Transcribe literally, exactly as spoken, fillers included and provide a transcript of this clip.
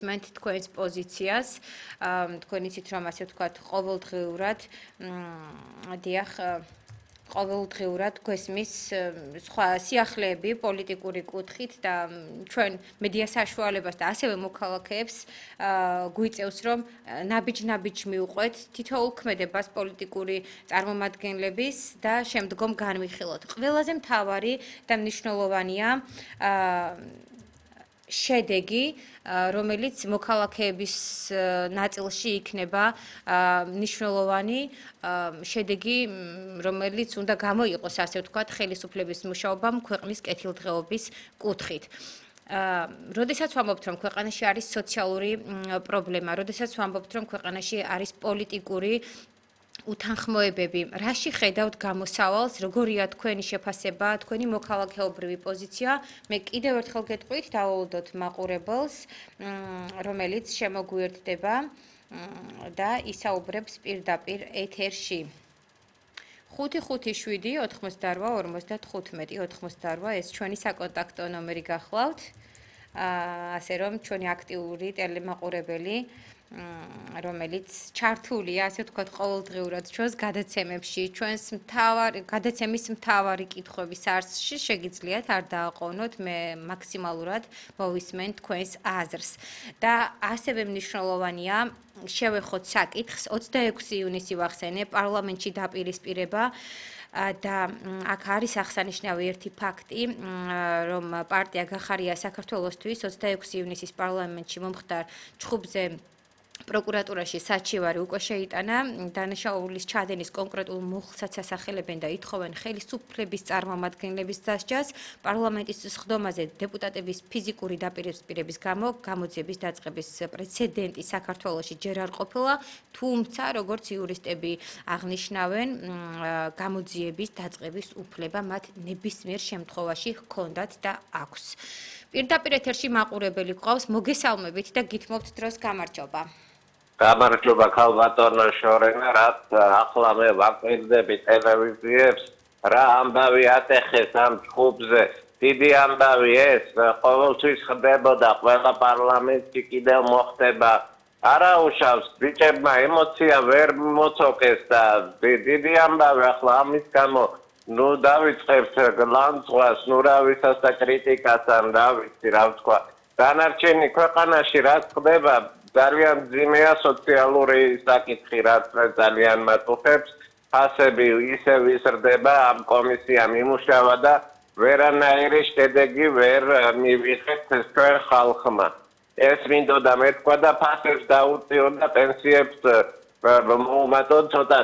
მენთ თქვენს პოზიციას, თქვენ იცით რომ ასე ვთქვათ, ყოველდღიურად, დიახ, ყოველდღიურად გვესმის სხვა სიახლეები პოლიტიკური კუთხით და ჩვენ მედია საშუალებას და ასევე მოქალაქეებს გვიწევს რომ ნაბიჯ-ნაბიჯ მივყვეთ თითოეულ ქმედებას პოლიტიკური წარმომადგენლების და შემდგომ განვიხილოთ. ყველაზე მთავარი და მნიშვნელოვანია შედეგი, რომელიც მოქალაქეების ნაწილში იქნება მნიშვნელოვანი შედეგი, რომელიც უნდა გამოიყოს, ასე ვთქვათ, ხელისუფლების მუშაობამ ქვეყნის კეთილდღეობის კუთხით. როდესაც ვამბობთ, რომ ქვეყანაში არის სოციალური პრობლემა, როდესაც ვამბობთ, რომ ქვეყანაში არის პოლიტიკური უთანხმოებები, რაში ხედავთ გამოსავალს, როგორია თქვენი შეფასება, თქვენი მოქალაქეობრივი პოზიცია? მე კიდევ ერთხელ გეტყვით, დავაუდოთ მაყურებელს, რომელიც შემოგვიერთდება და ისაუბრებს პირდაპირ ეთერში. ხუთი ხუთი შვიდი ოთხმოცდარვა ორმოცდათხუთმეტი ოთხმოცდარვა ეს ჩვენი საკონტაქტო ნომერი გახლავთ. ასე რომ ჩვენი აქტიური ტელემაყურებელი რომელიც ჩართულია, ასე ვთქვათ, ყოველდღიურად ჩვენს გადაცემებში, ჩვენს მთავარ გადაცემის მთავარი კითხვების არსში შეგიძლიათ არ დააყოვნოთ, მე მაქსიმალურად მოვისმენ თქვენს აზრს. და ასევე მნიშვნელოვანია შევეხოთ საკითხს, ოცდაექვსი ივნისი ვახსენე, პარლამენტში დაპირისპირება და აქ არის აღსანიშნავი ერთი ფაქტი, რომ პარტია გახარია საქართველოსთვის ოცდაექვსი ივნისის პარლამენტში მომხდარ ჩხუბზე პროკურატურაში საჩივარი უკვე შეიტანა, დანაშაულის ჩადენის კონკრეტულ მუხლსაც ასახელებენ და ითხოვენ ხელისუფლების წარმომადგენლების დასჯას, პარლამენტის სხდომაზე დეპუტატების ფიზიკური დაპირისპირების გამო გამოძიების დაწყების პრეცედენტი საქართველოში ჯერ არ ყოფილა, თუმცა როგორც იურისტები აღნიშნავენ, გამოძიების დაწყების უფლება მათ ნებისმიერ შემთხვევაში ჰქონდათ და აქვს. პირდაპირ ეთერში მაყურებელი გვყავს, მოგესალმებით და გითმობთ დროს გამარჯობა. გამარჯობა ქალბატონო შორენა, რაც ახლა მე ვაკვირდები ტელევიზიებს, რა ამბავი ატეხეს ამ ჩხუბზე. დიდი ამბავი ეს, ყოველთვის ხდებოდა, ყველა პარლამენტში კიდევ მოხდება. არა უშავს, ბიჭებმა ემოცია ვერ მოცოკეს და დიდი ამბავი ახლა ამის გამო ნუ დავიწყებთ ლანძღვას, ნუ რა ვისას და კრიტიკას ან რა ვიცი, რა ვთქვა. დანარჩენი ქვეყანაში რაც ხდება, ძალიან მძიმეა სოციალური საკითხი, რაც ძალიან მატუხებს. ფასები ისევ იზრდება, ამ კომისიამ იმუშავა და ვერანაირი შედეგი ვერ მივიღეთ ჩვენ ხალხმა. ეს მინდოდა მეთქვა და ფასებს დაუწიონ და პენსიებს მოუმატონ ცოტა